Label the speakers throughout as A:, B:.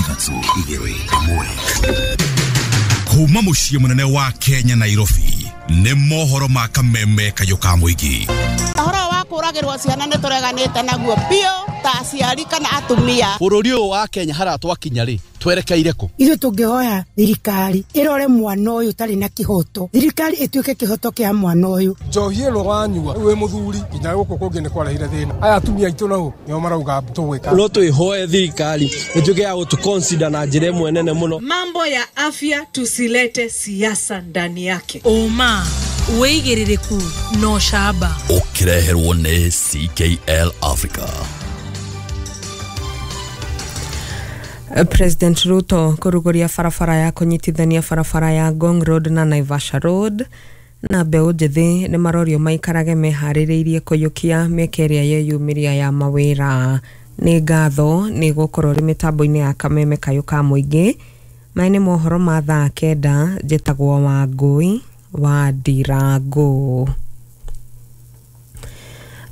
A: 3, 2, 1. Kuma mũciĩ mũnene wa Kenya, Nairobi, nĩ mohoro ma kameme kayũ ka mũingĩ.
B: Ũhoro wa kũragĩrwo ciana nĩ tũreganĩte naguo biũ ta aciari kana atumia.
C: Bũrũri ũyũ wa Kenya haria twakinya rĩ, twerekeire kũ?
D: Ithuĩ tũngĩhoya thirikari ĩrore mwana ũyũ ũtarĩ na kĩhoto, thirikari ĩtuĩke kĩhoto kĩa mwana ũyũ.
E: Njohi ĩno wanyua wĩ mũthuri nginya gũkũ kũngĩ nĩ kwarehire thĩna. Aya atumia aitũ nao nĩo marauga tũgwĩka.
F: No twĩhoe thirikari ĩtuĩke ya gũtũ consider na njĩra ĩmwe nene mũno.
G: Mambo ya afya tusilete siasa ndani yake.
H: Ũma, wĩigĩrĩrĩku na ũcamba.
A: Ũkĩreherwo nĩ CKL Africa.
I: President Ruto kũrugũria barabara ya kũnyitithania barabara ya Ngong Road na Naivasha Road. Na mbeũ njĩthĩ nĩ marorio maikarage meharĩrĩirie kũiyũkia mĩeke ĩrĩa yeyumĩria ya mawĩra. Nĩ ngatho nĩ gũkorwo rĩ mĩtambo-inĩ ya kameme kayũ ka mũingĩ. Maya nĩ mohoro ma thaa 9. Njĩtagwo Wangũi wa Ndirangũ.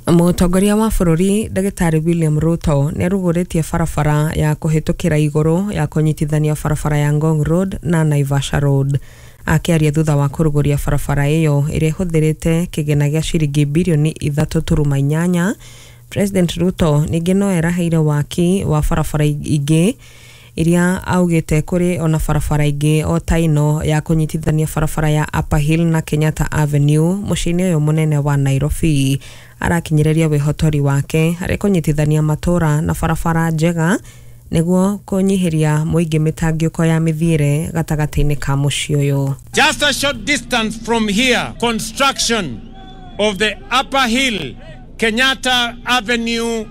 I: Mũtongoria wa bũrũri Ndagĩtarĩ William Ruto nĩ arugũrĩtie barabara ya kũhĩtũkĩra igũrũ ya kũnyitithania barabara ya Ngong Road na Naivasha Road. Akĩaria thutha wa kũrugũria barabara ĩyo ĩrĩa ĩhũthĩrĩte kĩgĩna gĩa ciringi birioni 3.8, President Ruto ningĩ no eraheire waki wa barabara ingĩ iria augĩte kũrĩ ona barabara ingĩ o ta ĩno ya kũnyitithania barabara ya Upper Hill na Kenyatta Avenue mũciĩ-inĩ ũyũ mũnene wa Nairobi. Arakinyĩrĩria wĩhotori wake harĩ kũnyitithania matũra na barabara njega nĩguo kũnyihĩria mũingĩ mĩtangĩko ya mĩthiĩre gatagatĩ-inĩ ka mũciĩ ũyũ.
J: Just a short distance from here, construction of the Upper Hill Kenyatta Avenue